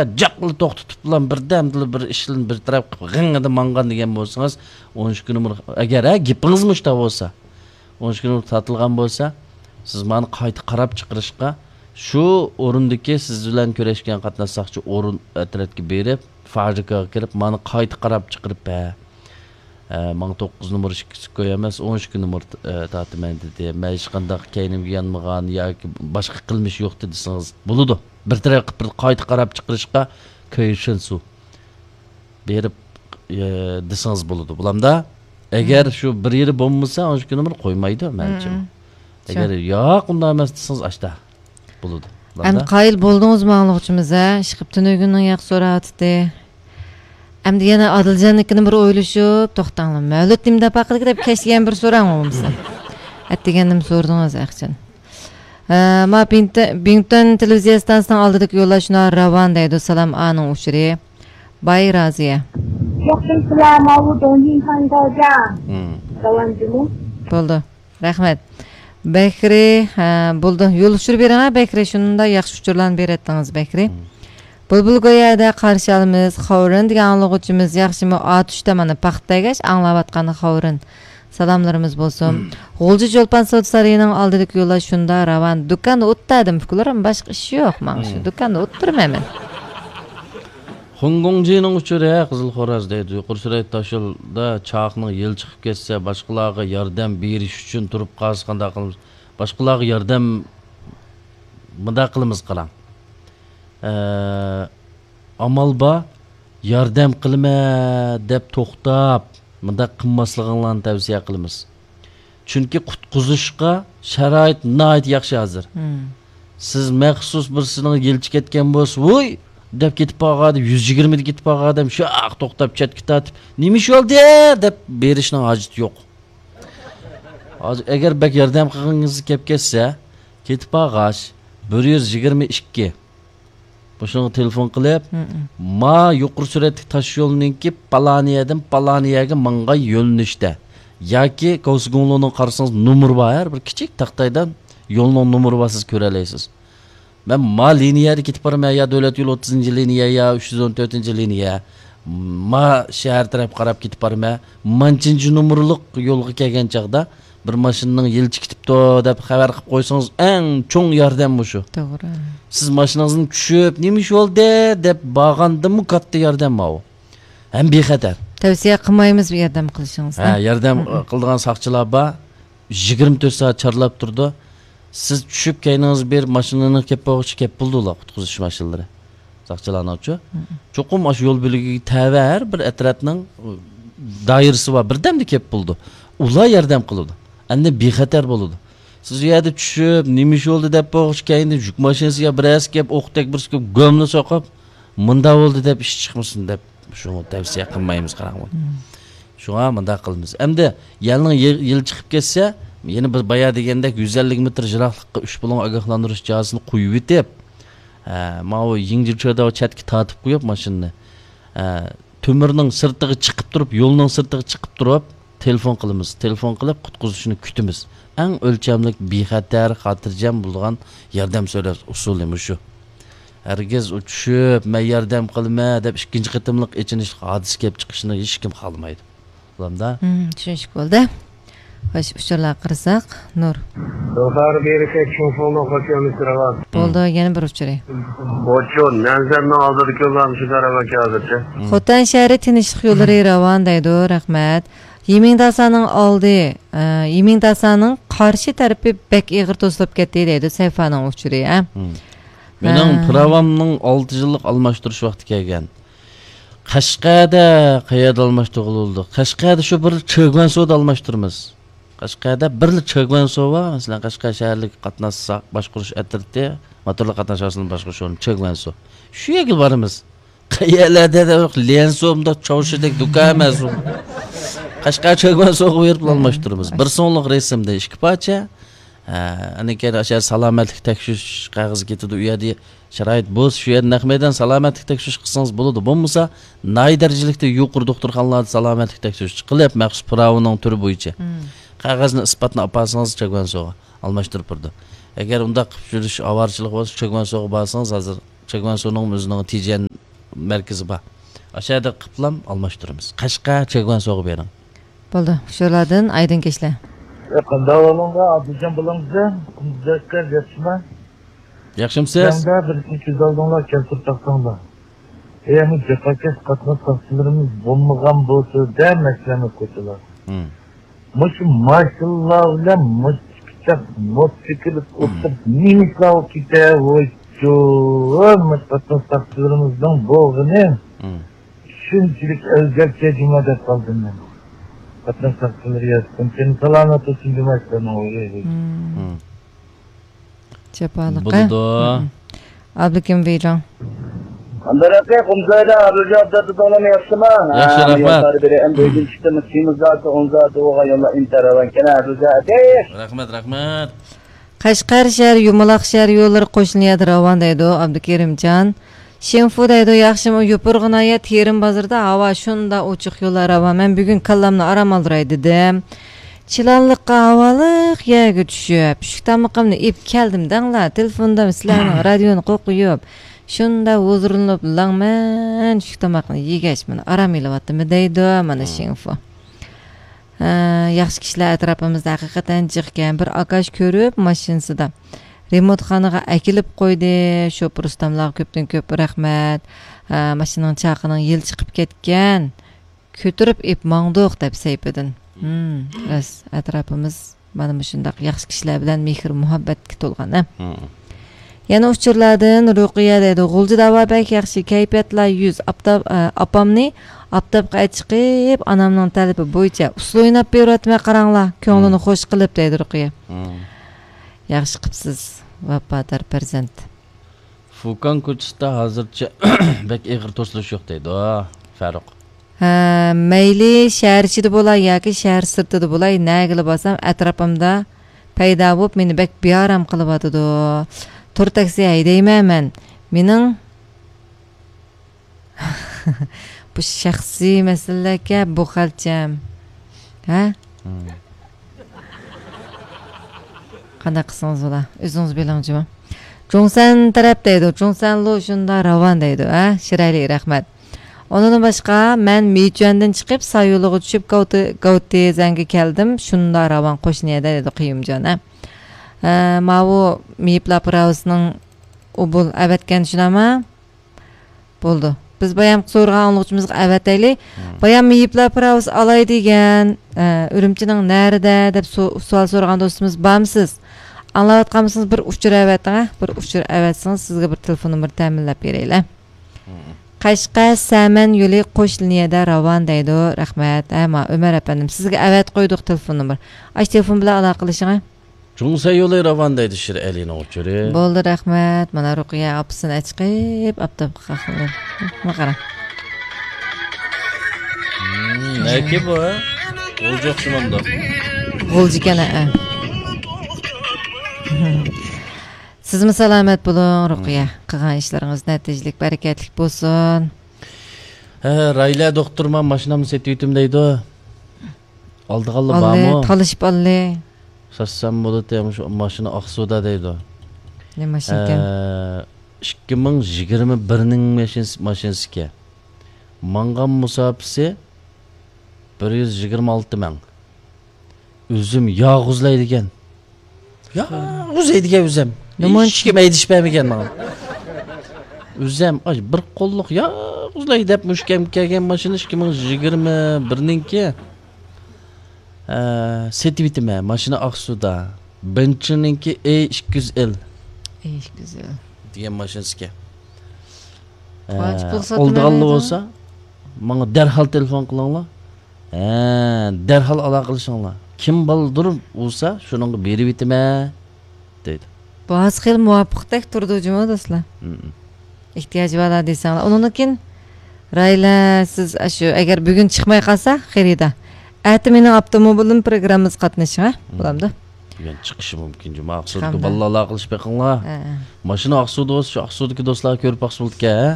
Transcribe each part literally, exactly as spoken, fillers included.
جاقلا توختىتىپ بىلەن بىردەمدىلا بىر ئىشلىرىنى بىر تەرەپ قىلىپ غىڭىدە ماڭغان دېگەن بولسىڭىز، ئون ئىككى نومۇر، ئەگەر ھە گېپىڭىز مۇشتا بولسا، ئون ئىككى نومۇر تارتىلغان بولسا، سىز مانا قايتا قاراپ چىقىرىشقا، شۇ ئورۇندىكى سىز بىلەن كۆرۈشكەن قاتناش ساقچى ئورۇن ئەترەتكە بېرىپ، فابرىكىغا كىرىپ، مانا قايتا قاراپ چىقىرىپ، ھە، ئە، ماڭا توققۇز نومۇر ئىككى سكويا ئەمەس، ئون ئىككى نومۇر، ئە، تارتىمەن دېدى. مەن ھېچقانداق كەينىمگە يانمىغان ياكى باشقا قىلمىش يوق دېدى دېسىڭىز بولىدۇ. بىر تەرەپ قىلىپ بىر قايتا قاراپ چىقىرىشقا كۆيۈشىنسۇ بېرىپ، ئە، دېسىڭىز بولىدۇ. بولامدا؟ ئەگەر شۇ بىر يېرى بولمىسا، ئون ئىككى نومۇر قويمايدۇ، مەنچە. ئەگەر ياق، ئۇنداق ئەمەس دېسىڭىز، ئاشتا بولىدۇ. ئەمدى قايىل بولدىڭىزمۇ ئاڭلىغۇچىمىز، ھە؟ ئىشقىپ تۈنۈگۈننىڭ ياخشى سورا ئاتىتى. ئەمدى يەنە ئادىلجاننىڭكىنى بىر ئويلىشىپ، توختاڭلار. مەۋلۇت نېمە دەپ ھەققىدە دەپ كەچتە يەنە بىر سوراڭ بولمىسا. ئەتىگەندىمۇ سورىدىڭىز، ئەخچان. ئە، ما بىڭتۈەن، بىڭتۈەن تېلېۋىزىيە ئىستانسىسىنىڭ ئالدىدىكى يوللار شۇنداق راۋان دەيدۇ. سالام، ئانىڭ ئۇچۇرى. باي رازىيە. ياخشىمسىلەر، ماۋۇ دونجىن تاڭگاجا. مم. راۋانجىمۇ؟ بولدى. رەھمەت. بەكرى، ھە، بولدى. يول ئۇچۇر بېرىڭە، بەكرى. شۇنداق ياخشى ئۇچۇرلارنى بېرەتتىڭىز، بەكرى. مم. بۇلبۇل گويادا قارشى ئالىمىز، خاۋرىن دېگەن ئاڭلىغۇچىمىز ياخشىمۇ؟ ئاتۇشتا مانا پاختا تەگەش ئاڭلاۋاتقان خاۋرىن. سالاملىرىمىز بولسۇن. مم. غۇلجا چولپان سودا سارىيىنىڭ ئالدىدىكى يوللار شۇنداق راۋان. دۇكاندا ئوتتۇرىدىم، ئۇكىلىرىم، باشقا ئىش يوق ماڭا شۇ. مم. دۇكاندا ئوتتۇرىمەن مەن. خۇڭگۇڭجىنىڭ ئۇچۇرى، ھە، قىزىل خوراز دەيدۇ. يۇقىرى سۈرئەت تاشيولدا چاقنىڭ يىلى چىقىپ كەتسە، باشقىلارغا ياردەم بېرىش ئۈچۈن تۇرۇپ قالسا قانداق قىلىمىز؟ باشقىلارغا ياردەم مۇنداق قىلىمىز، قاراڭ. ئە، ئامال بار، ياردەم قىلىمەن دەپ توختاپ، مۇنداق قىلماسلىقىڭلارنى تەۋسىيە قىلىمىز. چۈنكى قۇتقۇزۇشقا شارائىت ناھايىتى ياخشى ھازىر. مم. سىز مەخسۇس بىرسىنىڭ يىلچى كەتكەن بولسا، ۋوي دەپ كېتىپ بارغان ئادەم، يۈز يىگىرمىدە كېتىپ بارغان ئادەم شاق توختاپ چەتكە تارتىپ، نېمە ئىش بولدى دەپ بېرىشنىڭ ھاجىتى يوق. ھازىر ئەگەر بەك ياردەم قىلغىڭىز كەپ كەتسە، كېتىپ بارغاچ، بىر يۈز يىگىرمە ئىككى. مۇشۇنىڭغا تېلېفون قىلىپ، مم. ما يۇقىرى سۈرئەتلىك تاش يولنىڭكى پالانىيەدىن پالانىيەگە ماڭغان يۆنىلىشتە ياكى كاۋسىگۇڭلۇنىڭ قارىسىڭىز نومۇرى بار، ھەر بىر كىچىك تاختايدا يولنىڭ نومۇرى بار، سىز كۆرەلەيسىز. مەن ما لىنىيەدە كېتىپ بارىمەن، يا دۆلەت يولى ئوتتۇزىنچى لىنىيە يا ئۈچ يۈز ئون تۆتىنچى لىنىيە، ما شەھەر تەرەپ قاراپ كېتىپ بارىمەن، مانچىنچى نومۇرلۇق يولغا كەلگەن چاغدا بىر ماشىنىنىڭ يىلچى كېتىپتۇ دەپ خەۋەر قىلىپ قويسىڭىز، ئەڭ چوڭ ياردەم مۇشۇ. توغرا. سىز ماشىنىڭىزدىن چۈشۈپ، نېمە ئىش بولدى دەپ بارغاندىمۇ كاتتا ياردەم ماۋۇ. ھەم بىخەتەر. تەۋسىيە قىلمايمىز بۇ ياردەم قىلىشىڭىزنى. ھە، ياردەم قىلىدىغان ساقچىلار بار. يىگىرمە تۆت سائەت چارلاپ تۇرىدۇ. سىز چۈشۈپ، كەينىڭىزگە بېرىپ ماشىنىنى كەپ بولغۇچە كەپ بولىدۇ ئۇلار، قۇتقۇزۇش ماشىنىلىرى. ساقچىلارنىڭچۇ؟ چوقۇم ئاشۇ يول بۆلىكىگە تەۋە ھەر بىر ئەترەتنىڭ دائىرىسى بار، بىردەمدە كەپ بولىدۇ. ئۇلار ياردەم قىلىدۇ. ئەمدى بىخەتەر بولىدۇ. سىز ئۇ يەردە چۈشۈپ، نېمە ئىش بولدى دەپ بولغۇچە كەينىدىن يۈك ماشىنىسى يا بىرەرسى كەپ، ئوقتەك بىرسى كەپ، گۆمنى سوقۇپ، مۇنداق بولدى دەپ ئىش چىقمىسۇن دەپ، شۇنى تەۋسىيە قىلمايمىز، قاراڭ. شۇڭا مۇنداق قىلىمىز. ئەمدى يەلنىڭ يىل، يىل چىقىپ كەتسە، يەنە بىز بايا دېگەندەك يۈز ئەللىك مېتىر يىراقلىققا ئۈچ بۇلۇڭ ئاگاھلاندۇرۇش جىھازىنى قويۇۋېتىپ، ھە، ماۋۇ يىڭجىچۆدە چەتكە تارتىپ قويۇپ ماشىنىنى، ھە، تۆمۈرنىڭ سىرتىغا چىقىپ تۇرۇپ، يولنىڭ سىرتىغا چىقىپ تۇرۇپ، تېلېفون قىلىمىز. تېلېفون قىلىپ، قۇتقۇزۇشنى كۈتىمىز. ئەڭ ئۆلچەملىك، بىخەتەر، خاتىرجەم بولىدىغان ياردەم سورەش ئۇسۇلى مۇشۇ. ھەرگىز ئۇ چۈشۈپ، مەن ياردەم قىلىمەن دەپ ئىككىنچى قېتىملىق ئېچىنىشلىق ھادىسە كېلىپ چىقىشىنى ھېچكىم خالىمايدۇ. بولامدا؟ مم، چۈشىنىشلىك بولدى. خوش، ئۇچۇرلارغا قارىساق، نۇر. زوھار بېرىكە چوڭ فوڭنىڭ خوش كەلمىسى راۋان. بولدى، يەنە بىر ئۇچۇرى. بوچۇن، نەنزەننىڭ ئالدىدىكى يوللارمۇ شۇنداق راۋانكەن ھازىرچە. خوتەن شەھىرى تىنچلىق يوللىرى راۋان دەيدۇ، رەھمەت. يىمىڭداسانىڭ ئالدى، ئە، يىمىڭداسانىڭ قارشى تەرىپى بەك ئېغىر توسۇلۇپ كەتتى دەيدۇ، سەيفانىڭ ئۇچۇرى، ھە؟ مم. مېنىڭ پىراۋامنىڭ ئالتە يىللىق ئالماشتۇرۇش ۋاقتى كەلگەن. قەشقەردە قەيەردە ئالماشتۇرغىلى بولىدۇ؟ قەشقەردە شۇ بىر چېگۋەنسودا ئالماشتۇرىمىز. قەشقەردە بىرلا چېگۋەنسو بار، مەسىلەن، قەشقەر شەھەرلىك قاتناش سا-، باشقۇرۇش ئەترىتى، موتورلۇق قاتناش ھادىسىلىرىنى باشقۇرۇش ئورنى چېگۋەنسو. شۇ يەرگە بارىمىز. قەيەرلەردە دە ليەنسو مۇنداق چاۋشىدەك دۇكان ئەمەس ئۇ. قەشقەر چېگۋەنسوغا بېرىپ ئالماشتۇرىمىز. بىر سوملۇق رەسىمدە ئىككى پارچە. ھە، ئاندىن كېيىن ئاشۇ سالامەتلىك تەكشۈرۈش قەغىزى كېتىدۇ. ئۇ يەردە شارائىت بولسا، شۇ يەردە نەق مەيدان سالامەتلىك تەكشۈرۈش قىلسىڭىز بولىدۇ. بولمىسا، ناھىيە دەرىجىلىكتە يۇقىرى دوختۇرخانىلاردا سالامەتلىك تەكشۈرۈش قىلىپ، مەخسۇس پىراۋىنىڭ تۈرى بويىچە قەغەزنى، ئىسپاتنى ئاپارسىڭىز، چېگۋەنسوغا ئالماشتۇرۇپ بېرىدۇ. ئەگەر ئۇنداق قىلىپ يۈرۈش ئاۋارىچىلىق بولسا، چېگۋەنسوغا بارسىڭىز، ھازىر چېگۋەنسونىڭ ئۆزىنىڭ تيېنجەن مەركىزى بار. ئاشۇ يەردە قىپلام ئالماشتۇرىمىز. قەشقەر، چېگۋەنسوغا بېرىڭ. بولدى، ئۇچۇرلاردىن ئايدىن كەچلە. قانداق ئەھۋالىڭلار، ئابدۇجان بالام؟ مۇزەككەر، ياخشىمۇ؟ ياخشىمۇسىز؟ سىلەرمۇ بىر ئىشنى كۆز ئالدىڭلار كەلتۈرۈپ باقساڭلار. ئەمما جاپاكەش قاتناش ساقچىلىرىمىز بولمىغان بولسا دە، مەسىلەن، كوچىلار. مۇشۇ ماشىنىلار بىلەن مۇشۇ پىچاق موتسىكلىت ئوتتۇرىسىدا نېمە ئىشلار بولۇپ كېتە، ۋويچۇ، مۇشۇ قاتناش ساقچىلىرىمىزنىڭ بولغىنى شۇنچىلىك ئەلگەكچە جۇما دەپ قالدىم مەن. قاتناش ساقچىلىرى ياتقىن، سېنى سالامەت بولسۇن جۇما ئىشلارنىڭ ئويى. جاپالىق، بولىدۇ. ئابلىكىم ۋېيجاڭ. ئابدۇرەقىب، قۇمسايدا ئابدۇجان ئابدۇتۇتۇڭلارمۇ ياخشىمۇ؟ ياخشى، رەھمەت. يوللار بېرى ئەمدى ئۆيدىن چىقتىمىز، كىيىمىز زادى، ئون زادى بولغان يوللار ئىنتايىن راۋان ئىكەن، ئابدۇجان ئەتىش. رەھمەت، رەھمەت. قەشقەر شەھەر، يۇمىلاق شەھەر يوللىرى قوشنا يەردە راۋان دەيدۇ، ئابدۇكېرىمجان. شىنفۇ دەيدۇ، ياخشىمۇ؟ يوپۇرغا ناھىيە تېرىم بازىرىدا ھاۋا شۇنداق ئوچۇق، يوللار راۋان. مەن بۈگۈن كاللامنى ئارام ئالدۇراي دېدىم. چىلانلىققا ھاۋالىق يەرگە چۈشۈپ، چۈشلۈك تامىقىمنى ئېلىپ كەلدىم دەڭلار. تېلېفوندىن سىلەرنىڭ رادىيونى قوقۇيۇپ، شۇنداق ھۇزۇرلىنىپ لەڭمەن چۈشلۈك تاماقنى يېگەچ، مانا ئارام ئېلىۋاتىمەن دەيدۇ، مانا شىنفۇ. ھە، ياخشى كىشىلەر ئەتراپىمىزدا ھەقىقەتەن جىقكەن. بىر ئاكاش كۆرۈپ، ماشىنىسىدا رېمونتخانىغا ئەكېلىپ قويدى. شوپۇر ئۇستاملارغا كۆپتىن كۆپ رەھمەت. ھە، ماشىنىنىڭ چاقىنىڭ يىلى چىقىپ كەتكەن. كۆتۈرۈپ ئېپ ماڭدۇق، دەپ سەيپىدىن. ھىم، راست، ئەتراپىمىز مانا مۇشۇنداق ياخشى كىشىلەر بىلەن مېھىر مۇھەببەتكە تولغان، ھە. يەنە ئۇچۇرلاردىن رۇقىيە دەيدۇ، غۇلجىدا ھاۋا بەك ياخشى، كەيپىياتلار يۈز، ئاپتاپ، ئە، ئاپامنى ئاپتاپقا ئەچىقىپ، ئانامنىڭ تەلىپى بويىچە ئۇسسۇل ئويناپ بېرىۋاتىمەن، قاراڭلار، كۆڭلىنى خوش قىلىپ، دەيدۇ رۇقىيە. ياخشى قىپسىز، ۋاپادار پەرزەنت. فۇكاڭ كوچىسىدا ھازىرچە بەك ئېغىر توسۇلۇش يوق دەيدۇ، فاروق. ھە، مەيلى شەھەر ئىچىدە بولاي ياكى شەھەر سىرتىدا بولاي، نەگىلا بارسام ئەتراپىمدا پەيدا بولۇپ، مېنى بەك بىئارام قىلىۋاتىدۇ. تور تاكسى ھەيدەيمەن مەن. مېنىڭ بۇ شەخسىي مەسىلىلەركەن، بۇ خەلچەم. ھە؟ قانداق قىلسىڭىز بولا؟ ئۆزىڭىز بىلىڭ جۇمۇ. جۇڭسەن تەرەپ دەيدۇ، جۇڭسەنلۇ شۇنداق راۋان دەيدۇ، ھە؟ شىرەيلىك، رەھمەت. ئۇنىڭدىن باشقا، مەن مىچۈەندىن چىقىپ، سايولىغا چۈشۈپ، گاۋتى، گاۋتىزەنگە كەلدىم، شۇنداق راۋان قوشنا يەردە دەيدۇ، قېيۇمجان، ھە؟ ھە، ماۋۇ مېيىپلار پىراۋىسىنىڭ ئۇبۇل ئەۋەتكەن شۇنداقمۇ؟ بولدى. بىز بايامقى سورىغان ئاڭلىغۇچىمىزغا ئەۋەتەيلى. بايام مېيىپلار پىراۋىسى ئالاي دېگەن، ئە، ئۈرۈمچىنىڭ نەرىدە دەپ سو-، سوئال سورىغان دوستىمىز بارمۇسىز؟ ئاڭلاۋاتقان بولسىڭىز، بىر ئۇچۇر ئەۋەتىڭ، ھە؟ بىر ئۇچۇر ئەۋەتسىڭىز، سىزگە بىر تېلېفون نومۇرى تەمىنلەپ بېرەيلى. قەشقەر سەمەن يولى قوش لىنىيەدە راۋان دەيدۇ. رەھمەت. ھە، ما، ئۆمەر ئەپەندىم، سىزگە ئەۋەتىپ قويدۇق تېلېفون نومۇر. ئاشۇ تېلېفون بىلەن ئالاقىلىشىڭ، ھە؟ جۇڭسەن يولى راۋان دەيدۇ، شىرئەلىنىڭ ئۇچۇرى. بولدى، رەھمەت. مانا رۇقىيە ئاپىسىنى ئەچىقىپ، ئاپتاپقا قاقلىدى. ما قارا. نەكى بۇ، ھە؟ غۇلجا ئوخشىمامدۇ؟ غۇلجىكەن، ھە. سىزمۇ سالامەت بولۇڭ، رۇقىيە. قىلغان ئىشلىرىڭىز نەتىجىلىك، بەرىكەتلىك بولسۇن. ھە، رايلە دوختۇرما ماشىنامنى سېتىۋېتىم دەيدۇ. ئالىدىغانلار بارمۇ؟ تالىشىپ ئالدى. ساتسام بولىدۇ، مۇشۇ ماشىنا ئاقسۇدا دەيدۇ. نېمە ماشىنا ئىكەن؟ ئە، ئىككى مىڭ يىگىرمە بىرنىڭ ماشىنىسى، ماشىنىسىكەن. ماڭغان مۇساپىسى بىر يۈز يىگىرمە ئالتە مىڭ. ئۆزۈم ياغۇزلايدىكەن. ياغۇزلايدىكەن ئۆزەم. نېمە؟ ھېچكىم ھەيدىشىپ بەرمىگەن ماڭا. ئۆزەم، ئاي، بىر قوللۇق ياغۇزلاي دەپ مۇشۇ كەم-، كەلگەن ماشىنا ئىككى مىڭ يىگىرمە بىرنىڭكى. ئە، سېتىۋېتىمەن، ماشىنا ئاقسۇدا. بېنتلىنىڭكى ئەي ئىككى يۈز ئېل. ئەي ئىككى يۈز ئېل دېگەن ماشىنىسىكەن. ئە، ئالىدىغانلار بولسا، ماڭا دەرھال تېلېفون قىلىڭلار. ھە، دەرھال ئالاقىلىشىڭلار. كىم بالدۇر بولسا، شۇنىڭغا بېرىۋېتىمەن، دەيدۇ. بۇ ھازىر خېلى مۇۋاپىقتەك تۇرىدۇ جۇمۇ، دوستلار. ئېھتىياجى بارلار دېسەڭلار. ئۇنىڭدىن كېيىن رايلە، سىز ئاشۇ، ئەگەر بۈگۈن چىقماي قالسا خېرىدار، ئەتە مېنىڭ ئاپتوموبىلىم پروگراممىسىغا قاتنىشىڭ، ھە؟ بولامدۇ؟ بۈگۈن چىقىشى مۇمكىن جۇمۇ. ئاقسۇدىكى بالىلار ئالاقىلىشىپ بېقىڭلار. ھە، ھە. ماشىنا ئاقسۇدا بولسا، شۇ ئاقسۇدىكى دوستلارغا كۆرۈپ باقسا بولىدىكەن، ھە؟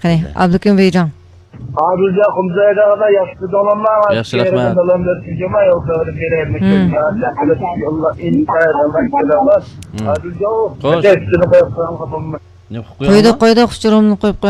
قېنى، ئابلىكىم ۋېيجاڭ. ئابىلجان قۇمسايدا ياخشى داڭلانما. ياخشى، رەھمەت. سالام بەرسىڭىزما يول خەۋىرى بېرەي. مۇشۇ يوللار ئىنتايىن ئامان كېلىۋاتىدۇ. ئابىلجان، خوش. قويدۇق، قويدۇق، ئۇچۇرۇمنى قويۇپ قويۇڭ.